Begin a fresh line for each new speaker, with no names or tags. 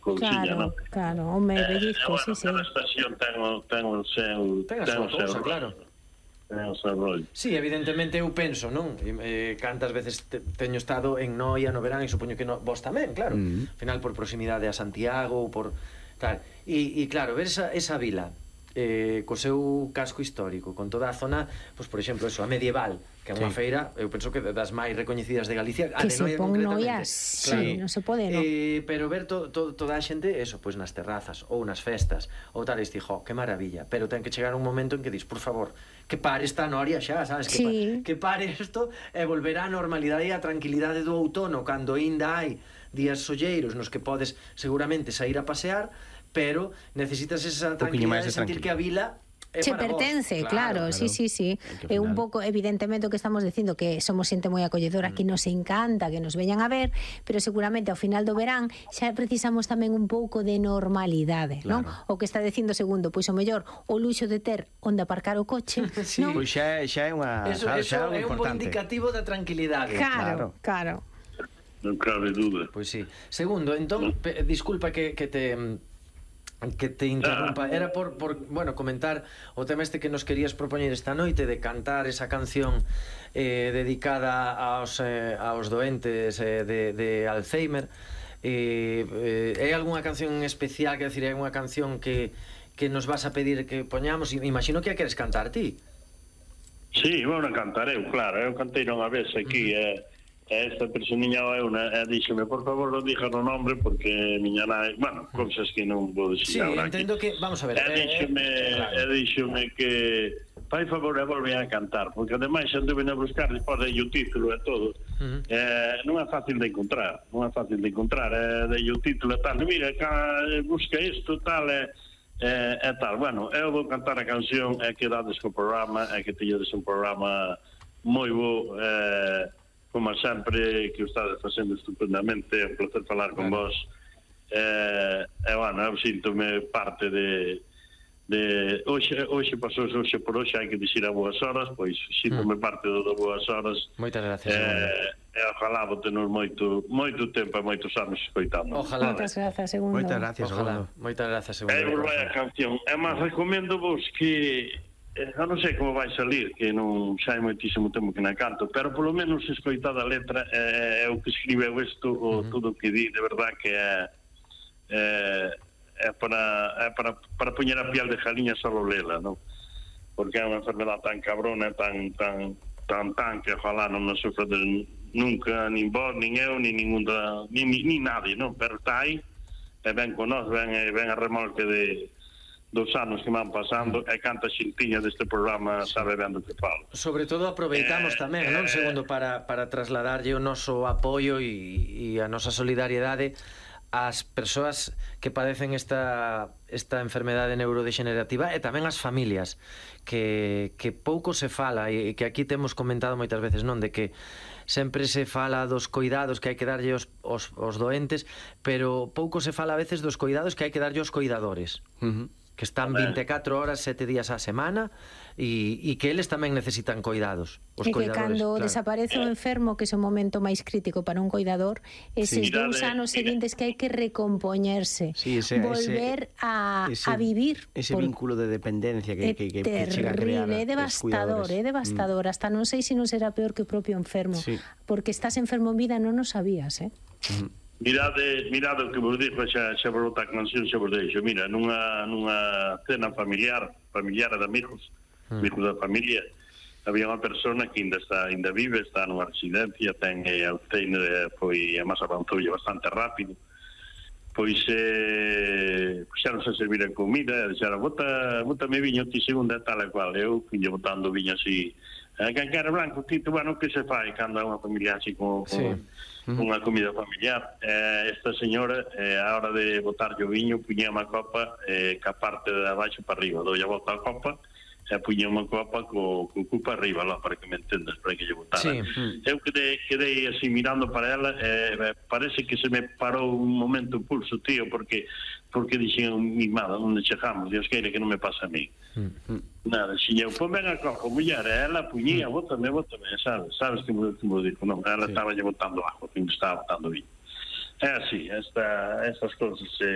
cousiña, non?
Claro, home, pellizco, sí.
Cada estación ten o seu...
Ten a súa cousa, claro.
Ten o seu rollo.
Sí, evidentemente eu penso, non? Cantas veces teño estado en Noia no verán e supoño que vos tamén, claro. Al final por proximidade a Santiago ou por tal. E claro, ver esa vila co seu casco histórico, con toda a zona, pois por exemplo, eso, a medieval, que é unha feira, eu penso que das máis recoñecidas de Galicia, a de Noia concretamente.
Sí, non se pode, non?
Pero ver toda a xente, eso, pois nas terrazas ou nas festas, ou tal, dijo, que maravilla, pero ten que chegar un momento en que dis, por favor, que pare esta noria xa, sabes? Que pare isto e volver á normalidade e á tranquilidade do outono, cando ainda hai días solleiros nos que podes seguramente sair a pasear, pero necesitas esa tranquilidade de sentir que a vila
che pertence, claro. Sí. É un pouco, evidentemente, o que estamos dicindo, que somos xente moi acolledora, que nos encanta que nos veñan a ver, pero seguramente ao final do verán xa precisamos tamén un pouco de normalidade, non? O que está dicindo segundo, pois o mellor o luxo de ter onde aparcar o coche, non?
Pois xa é unha...
Eso é un bo indicativo da tranquilidade.
Claro.
Non cabe dúda.
Pois sí. Segundo, entón, disculpa que te interrumpa, era por bueno, comentar o tema este que nos querías propoñer esta noite, de cantar esa canción dedicada aos doentes de Alzheimer. É algunha canción especial, que decir, é unha canción que nos vas a pedir que poñamos? Imagino que a queres cantar ti.
Sí, bueno, cantarei, claro, eu cantei unha vez aquí, esta personiña díxeme, por favor, non dixas o nombre porque miña nai, bueno, cousas que non vou dicir agora.
Sí, entendo que, vamos a ver,
díxeme que fai favor e volve a cantar, porque ademais anduve a buscar despois de o título e todo, non é fácil de encontrar, de o título e tal, mira, busca isto, tal, e tal. Bueno, eu vou cantar a canción e que dades co programa, e que teñedes un programa moi bo, como sempre, que o estades facendo estupendamente. É un placer falar con vos, bueno, eu síntome parte de hoxe pasou hoxe por hoxe, hai que dicir a boas horas, pois síntome parte do boas horas.
Moitas gracias,
e ojalá vos tenos moito tempo e moitos anos escoitando.
Moitas gracias, Segundo.
Moitas gracias,
Segundo.
Vos vai a canción, e máis recomendo vos que non sei como vai salir, que non xa hai moitísimo tempo que non canto, pero polo menos escoitada a letra, é o que escribeu isto, ou todo o que di, de verdad que é para poñer a piel de jaliña solo lela, non? Porque é unha enfermedade tan cabrona, tan que ojalá non nos sufra nunca, nin vos, nin eu, nin nadie, non? Pero está aí, e ven con nós, ven a remolque dos anos que van pasando, e canta xintiña deste programa, sabe ben do que falo.
Sobre todo aproveitamos tamén, non, Segundo, para trasladarlle o noso apoio e a nosa solidariedade ás persoas que padecen esta enfermedade neurodegenerativa, e tamén ás familias, que pouco se fala, e que aquí temos comentado moitas veces, non, de que sempre se fala dos coidados que hai que darlle aos doentes, pero pouco se fala a veces dos coidados que hai que darlle aos coidadores, que están 24 horas, 7 días á semana, e que eles tamén necesitan coidados, os coidadores.
E que cando desaparece o enfermo, que é o momento máis crítico para un coidador, eses 2 anos seguintes que hai que recompoñerse, volver a vivir.
Ese vínculo de dependencia que chega a crear.
É devastador, hasta non sei se non será peor que o propio enfermo, porque estás enfermo en vida, non o sabías,
Mirade o que vos dixo, xa vos botar canción, xa vos deixo. Mira, nunha cena familiar de amigos da familia, había unha persona que ainda vive, está nunha residencia, ten Alzheimer, foi a máis avanzoulle bastante rápido, pois xa non se serviran comida, dixeron, bótame viño ti segunda, tal e cual. Eu fui botando viño así, canquera blanco, tito, bueno, que se fai cando é unha familia así con unha comida familiar. Esta señora, a hora de botar o viño, puña unha copa ca parte de abaixo para arriba, dou a volta a copa e puña unha copa co cu para arriba, lá, para que me entendas, para que lle botara. Eu quedei así mirando para ela, parece que se me parou un momento o pulso, tío, porque dixen, mimada, onde chegamos, Dios queira que non me pasa a mí. Nada, si eu, pon ben a copa, muller, ela puñía, bótame, sabes que me dijo, non, ela estaba lle botando agua, que me estaba botando viño. É así, estas cousas